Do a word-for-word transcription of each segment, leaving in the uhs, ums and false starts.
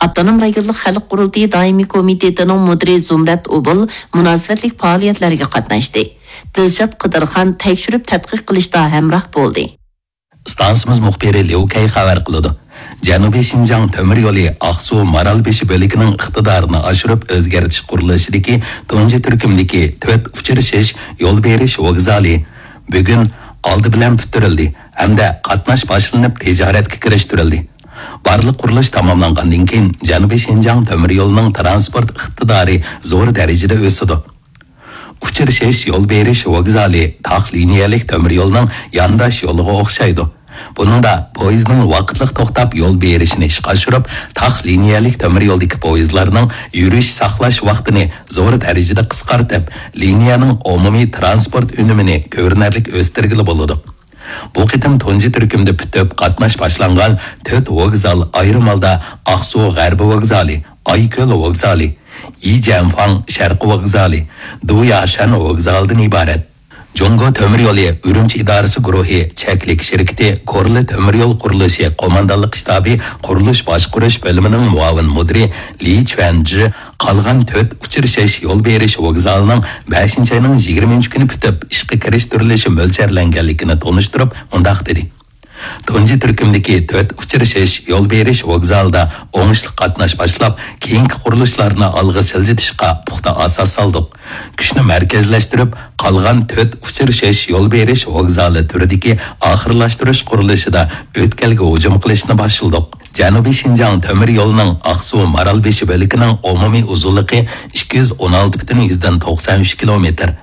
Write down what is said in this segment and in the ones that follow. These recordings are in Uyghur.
ئاپتونوم رايونلۇق خەلق قۇرۇلتىيى دائىمىي كومىتېتىنىڭ مۇدىرى زۇمرەت ئوبۇل مۇناسىۋەتلىك پائالىيەتلەرگە قاتناشتى. دىلشات قىدىرخان تەكشۈرۈپ تەتقىق قىلىشتا ھەمراھ بولدى. ئىستانسىمىز مۇخبىرى ليۇ كەي خەۋەر قىلىدۇ. جەنۇبىي شىنجاڭ تۆمۈر يولى ئاقسۇ مارالبېشى بۆلىكىنىڭ ئىقتىدارىنى ئاشۇرۇپ ئۆزگەرتىش قۇرۇلۇشىدىكى تۇنجى تۈركۈمدىكى تۆت ئۇچرىشىش يول بېرىش ۋوگزالى بۈگۈن ئالدى بىلەن پۈتتۈرۈلدى ھەمدە قاتناش باشلىنىپ تىجارەتكە كىرىشتۈرۈلدى. بارلىق قۇرۇلۇش تاماملانغاندىن كېيىن جەنۇبىي شىنجاڭ تۆمۈر يولىنىڭ تىرانسپورت ئىقتىدارى زور دەرىجىدە ئۆسىدۇ. ئۇچرىشىش يول بېرىش ۋوگزالى تاق لىنىيەلىك تۆمۈر يولنىڭ يانداش يولىغا ئوخشايدۇ. بۇنىڭدا پويىزنىڭ ۋاقىتلىق توختاپ يول بېرىشىنى ئىشقا ئاشۇرۇپ، تاق لىنىيەلىك تۆمۈر يولدىكى پويىزلارنىڭ يۈرۈش ساقلاش ۋاقتىنى زور دەرىجىدە قىسقارتىپ، لىنىيەنىڭ ئومۇمىي تىرانسپورت ئۈنۈمىنى كۆرۈنەرلىك ئۆستۈرگىلى بولىدۇ. بۇ قېتىم تۇنجى تۈركۈمدە پۈتۈپ قاتناش باشلانغان تۆت ۋوگزال ئايرىم ھالدا ئاقسۇ غەربىي ۋوگزالى، ئايكۆل ۋوگزالى، يىجيەنفاڭ شەرقىي ۋوگزالى، دۇياشەن ۋوگزالىدىن ئىبارەت. جۇڭگو تۆمۈر يولى ئۈرۈمچى ئىدارىسى گۇرۇھى چەكلىك شىركىتى كورلا تۆمۈر يول قۇرۇلۇشى قوماندانلىق شتابى قۇرۇلۇش باشقۇرۇش بۆلۈمىنىڭ مۇئاۋىن مۇدىرى لى چۈەنجى قالغان تۆت ئۇچرىشىش يول بېرىش ۋوگزالىنىڭ بەشىنچى ئاينىڭ يىگىرمىنچى كۈنى پۈتۈپ ئىشقا كىرىشتۈرۈلۈشى مۆلچەرلەنگەنلىكىنى تونۇشتۇرۇپ مۇنداق دېدى. تۇنجى تۈركۈمدىكى تۆت ئۇچرىشىش يول بېرىش ۋوگزالىدا ئوڭۇشلۇق قاتناش باشلاپ، كېيىنكى قۇرۇلۇشلارنى ئالغا سىلجىتىشقا پۇختا ئاساس سالدۇق. كۈچنى مەركەزلەشتۈرۈپ، قالغان تۆت ئۇچرىشىش يول بېرىش ۋوگزالى تۈرىدىكى ئاخىرلاشتۇرۇش قۇرۇلۇشىدا ئۆتكەلگە ھۇجۇم قىلىشنى باشلىدۇق. جەنۇبىي شىنجاڭ تۆمۈر يولىنىڭ ئاقسۇ مارالبېشى بۆلىكىنىڭ ئومۇمىي ئۇزۇنلۇقى ئىككى يۈز ئون ئالتە پۈتۈن يۈزدىن توقسان ئۈچ كىلومېتىر.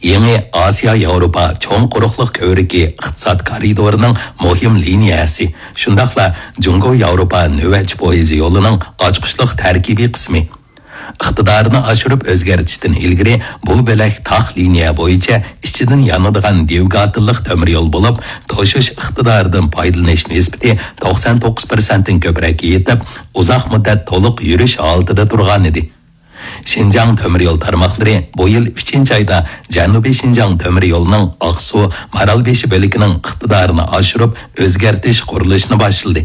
يېڭى ئاسىيا ياۋروپا چوڭ قۇرۇقلۇق كۆۋرۈكى ئىقتىساد كارىدورىنىڭ مۇھىم لىنىيەسى، شۇنداقلا جۇڭگو ياۋروپا نۆۋەتچى پويىزى يولىنىڭ ئاچقۇچلۇق تەركىبىي قىسمى. ئىقتىدارىنى ئاشۇرۇپ ئۆزگەرتىشتىن ئىلگىرى بۇ بۆلەك تاق لىنىيە بويىچە ئىچىدىن يانىدىغان دىۋگاتېللىق تۆمۈر يول بولۇپ، توشۇش ئىقتىدارىدىن پايدىلىنىش نىسبىتى توقسان توققۇز پىرسەنتتىن كۆپرەككە يېتىپ، ئۇزاق مۇددەت تولۇق يۈرۈش ھالىتىدە تۇرغانىدى. شىنجاڭ تۆمۈر يول تارماقلىرى بۇ يىل ئۈچىنچى ئايدا جەنۇبىي شىنجاڭ تۆمۈر يولىنىڭ ئاقسۇ مارالبېشى بۆلىكىنىڭ ئىقتىدارىنى ئاشۇرۇپ ئۆزگەرتىش قۇرۇلۇشىنى باشلىدى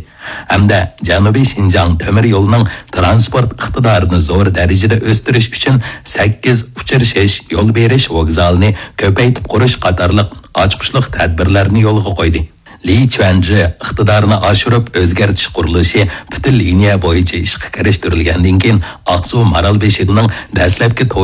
ھەمدە جەنۇبىي شىنجاڭ تۆمۈر يولىنىڭ تىرانسپورت ئىقتىدارىنى زور دەرىجىدە ئۆستۈرۈش ئۈچۈن سەككىز ئۇچرىشىش يول بېرىش ۋوگزالىنى كۆپەيتىپ قۇرۇش قاتارلىق ئاچقۇچلۇق تەدبىرلەرنى يولغا قويدى. لى چۈەنجى ئىقتىدارنى ئاشۇرۇپ ئۆزگەرتىش قۇرۇلۇشى پۈتۈن لىنىيە بويىچە ئىشقا كىرىشتۈرۈلگەندىن كېيىن، ئاقسۇ مارالبېشىنىڭ دەسلەپكى